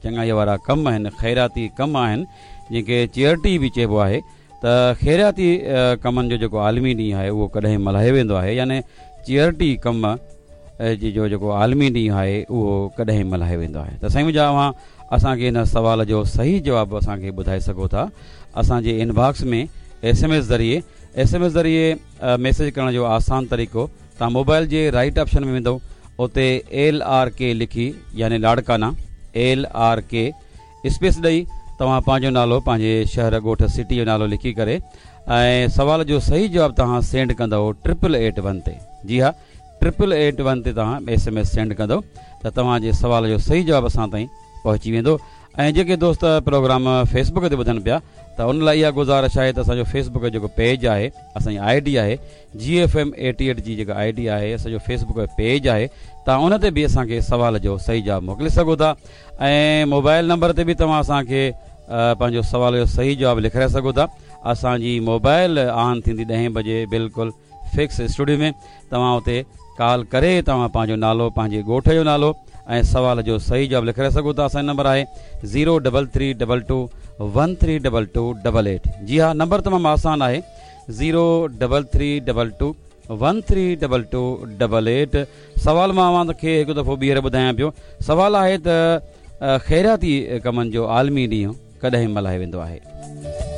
چڱائي وارا ڪم آهن، خيراتي ڪم آهن، جنهن کي چيئرٽي به چئبو آهي ته خيراتي ڪمن جو جيڪو عالمي ڏينهن آهي اهو ڪڏهن ملهايو ويندو آهي يعني چيئرٽي ڪم جو جيڪو عالمي ڏينهن آهي اهو ڪڏهن ملهايو ويندو آهي ته سائين منهنجا اوهان اسان کي ان سوال جو صحيح جواب اسان کي ٻڌائي سگهو ٿا اسان جي انباڪس ۾ ايس ايم ايس ذريعي ايس ايم ايس ذريعي ميسيج ڪرڻ جو آسان طريقو توهان موبائل جي رائيٽ آپشن ۾ ويندو اتي ايل آر ڪي لکي يعني Larkana L R K space ڏئي توهان پنهنجو نالو پنهنجي شهر ڳوٺ سٽي جو نالو لکي ڪري ۽ سوال جو صحيح جواب توهان سينڊ ڪندو ٽرپل ايٽ ون تي جي ها ٽرپل ايٽ ون تي توهان ايس ايم ايس سينڊ ڪندو ته توهان جي سوال جو صحيح جواب اسان تائين پهچي ويندو ۽ جيڪي دوست پروگرام فيس بڪ تي ٻڌن پيا ته ان لاء اها گذارش آهي ته اسان جو فيس بڪ جو جيڪو پيج آهي اسان جي I D آهي جي ايف ايم ايٽي ايٽ جي جيڪا I D آهي اسان جو فيس بڪ جو پيج آهي توهان ان تي به اسان کي سوال جو صحيح جواب موڪلي سگهو ٿا ۽ موبائل نمبر تي به توهان اسان کي پنهنجو سوال جو صحيح جواب لکرائي سگهو ٿا اسان جي موبائل آن ٿيندي ڏهين بجي بلڪل فڪس اسٽوڊيو ۾ توهان اتي ڪال ڪري توهان پنهنجو نالو پنهنجي ڳوٺ جو نالو ۽ سوال جو صحيح جواب لکرائي سگهو ٿا اسان جو نمبر آهي zero double three double two one three double two double eight جي ها نمبر تمام آسان آهي zero double three double two one three double two double eight سوال مان اوهان کي هڪ دفعو ٻيهر ٻڌايان پيو سوال آهي ته خيراتي ڪمن جو عالمي ڏينهن ڪڏهن ملهايو ويندو آهي.